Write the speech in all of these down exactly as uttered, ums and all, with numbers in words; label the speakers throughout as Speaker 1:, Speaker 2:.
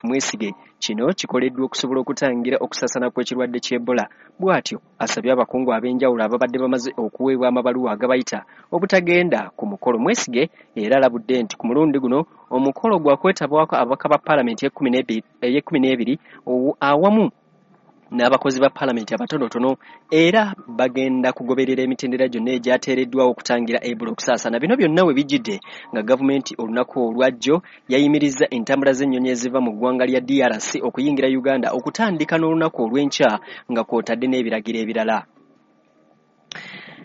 Speaker 1: Mwesige. Kino kikoleddwa okusobola okutangira okusaasaana kw'ekirwadde ky'Ebola. Bw'atyo asabye abakungu ab'enjawulo ababadde bamaze okuweebwa amabaluwa agabayita obutagenda ku mukolo. Mwesige era alabudde nti ku mulundi guno omukolo gwa kwetabwako ababaka ba paalamenti ey'ekkumi n'ebiri awamu n'abakozi ba paalamenti abatonotono, era bagenda kugoberera emitendera gyonna egyateereddwawo okutangira Ebola okusaasaana. Bino byonna we bijjidde nga gavumenti olunaku olwajjo yayimirizza entambula z'ennyonyi eziva mu ggwanga lya D R C okuyingira Uganda okutandika n'olunaku olw'enkya nga kw'otadde n'ebiragiro ebirala.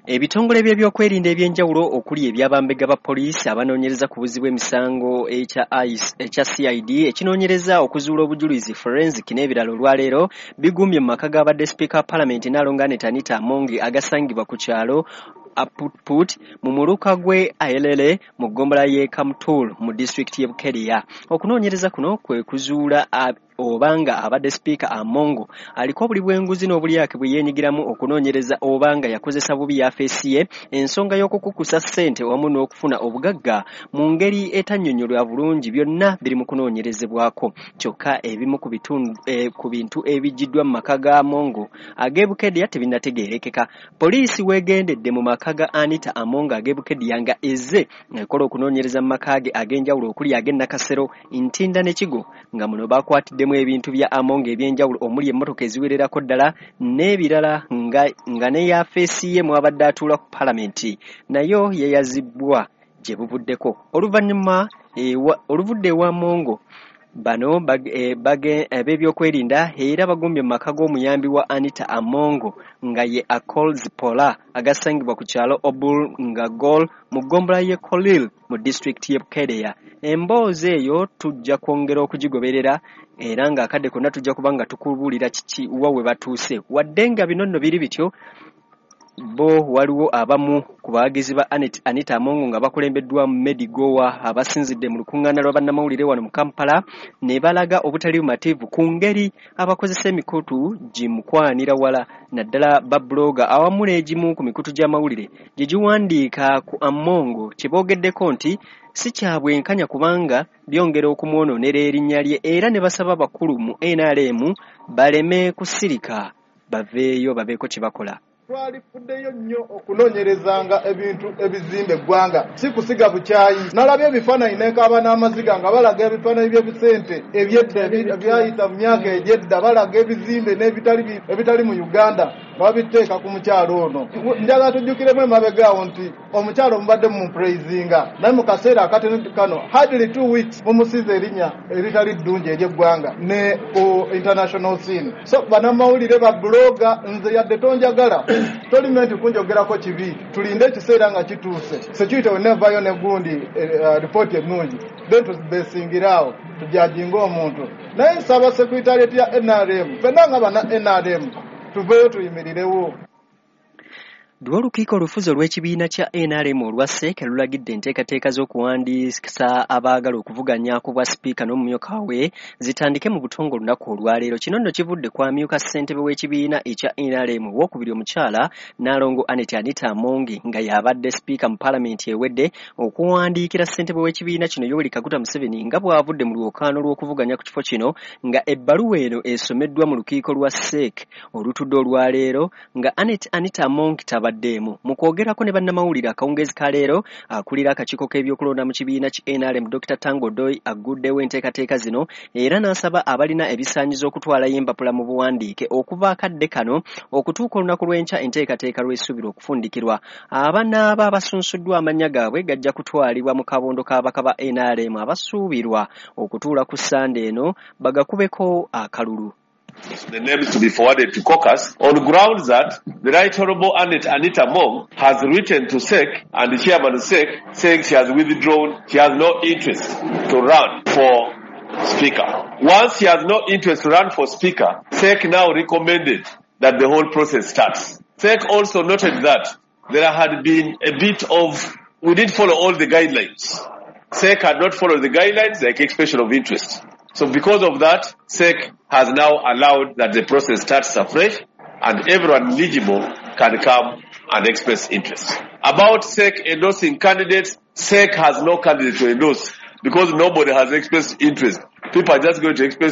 Speaker 1: Ebitongole by'ebyokwerinda eby'enjawulo okuli eby'abambega ba poliisi abanoonyereza ku buzzi bw'emisango ekya ekya C I D ekinoonyereza okuzuula obujulizi forensic n'ebirala olwaleero bigumbye mu maka g'abadde sipiika wa paalamenti Nnaalongo Anita Among agasangibwa ku kyalo Aputput mu muluka gw'e Aelele mu ggombolola y'e Kamtul mu disitulikiti y'e Bukedea. Okunoonyereza kuno kwe kuzuula obanga abadde sipiika Among aliko obuli bw'enguzi n'obulyake bwe yeenyigiramu okunoonyereza obanga yakozesa bubi yafeesi ye ensonga y'okukukusa ssente wamu n'okufuna obugagga mu ngeri etannyonnyolwa bulungi, byonna biri mu kunoonyerezebwako. Kyokka ebimu ku bitundu eh, ku bintu ebijjiddwa mu maka ga Among ag'e Bukedea tebinnategeerekeka. Poliisi weegendedde mu maka ga Anita Among ag'e Bukedea nga ezze ekola okunoonyereza mu maka ge ag'enjawulo okuli ag'e Nakasero, Ntinda ne Kigo, nga muno bakwatiddemu ebintu bya Among eby'enjawulo omuli emmotoka eziwererako ddala n'ebirala nga, nga ne yafeesi ye mwabadde atuula ku paalamenti nayo yeyazibbwa gye buvuddeko. Oluvannyuma oluvudde ewa Among bano ab'ebyokwerinda era bagumbye mu maka g'omuyambi wa Anita Among nga ye Akol Zipola agasangibwa ku kyalo Obul nga Gol mu ggombolola y'e Kolil mu disitulikiti y'e Bukedea. Emboozi eyo tujja kwongera okugigoberera era ng'akadde konna tujja kuba nga tukubuulira kiki wa we batuuse. Wadde nga bino nno biri bityo, bo waliwo abamu ku bawagizi ba Anita Among nga bakulembeddwa Medigowa abasinzidde mu lukuŋŋaana lwa bannamawulire wano mu Kampala ne balaga obutali bumativu ku ngeri abakozesa emikutu gimukwanira wala naddala babuloga awamu n'egimu ku mikutu gy'amawulire gye giwandiika ku Among kye boogeddeko nti si kya bwenkanya kubanga byongera okumwonoonera erinnya lye, era ne basaba abakulu mu N R M baleme kusirika baveeyo babeeko kye bakola.
Speaker 2: Twalifuddeyo nnyo okunoonyerezanga ebintu ebizimba eggwanga, si kusiga bukyayi. Nalabye ebifaananyi n'ekaaba n'amaziga nga balaga ebifaananyi by'ebisente eby'edda ebyayita mu myaka egy'edda, balaga ebizimbe n'ebitali ebitali mu Uganda nga babiteeka ku mukyalo ono. Njagala tujjukiremu emabega awo nti omukyalo mubadde mumupraisinga, naye mu kaseera akatono kano hardly two weeks mumusize erinnya eritali ddungi ery'eggwanga ne ku international scene. So bannamawulire ba blogger, nze yadde tonjagala tolimenti kunjogerako kibi, tulinde ekiseera nga kituuse. Security wenevayo ne gundi ripooti ennungi, then tubesingiraawo tujajinga omuntu. Naye nsaba secretariat ya N R M ffenna nga banna N R M tuveeyo tuyimirirewo.
Speaker 1: Lwo olukiiko olufuzi olw'ekibiina kya N R M olwa S E C lulagidde enteekateeka z'okuwandiisa abaagala okuvuganya ku bwa sipiika n'omumyuka we zitandike mu butongole olunaku olwaleero. Kino nno kivudde ku amyuka ssentebe w'ekibiina ekya N R M owokubiri omukyala Nnaalongo Annet Anita Among nga y'abadde sipiika mu paalamenti ewedde okuwandiikira ssentebe w'ekibiina kino Yoweri Kaguta Museveni nga bw'avudde mu lwokaano lw'okuvuganya ku kifo kino, nga ebbaluwa eno esomeddwa mu lukiiko lwa S E C olutudde olwaleero nga Annet Anita Among tabadde demu. Mu kwogerako ne bannamawulire akawungeezi ka leero, akulira akakiiko k'ebyokulonda mu kibiina ki N R M Dokita Tango Doi aguddewo enteekateeka zino era n'asaba abalina ebisaanyizo okutwalayo empapula mu buwandiike okuva akadde kano okutuuka olunaku lw'enkya enteekateeka lw'esuubirwa okufundikirwa. Abanaaba abasunsuddwa amannya gaabwe gajja kutwalibwa mu kabondo k'ababaka ba N R M abasuubirwa okutuula ku Ssande eno bagakubeko akalulu.
Speaker 3: The names to be forwarded to caucus on grounds that the Right Honorable Annet Anita Among has written to S E C and the chairman of S E C saying she has withdrawn, she has no interest to run for speaker. Once she has no interest to run for speaker, S E C now recommended that the whole process starts. S E C also noted that there had been a bit of, we didn't follow all the guidelines. S E C had not followed the guidelines like expression of interest. So because of that, S E C has now allowed that the process starts afresh and everyone eligible can come and express interest. About S E C endorsing candidates, S E C has no candidate to endorse because nobody has expressed interest. People are just going to express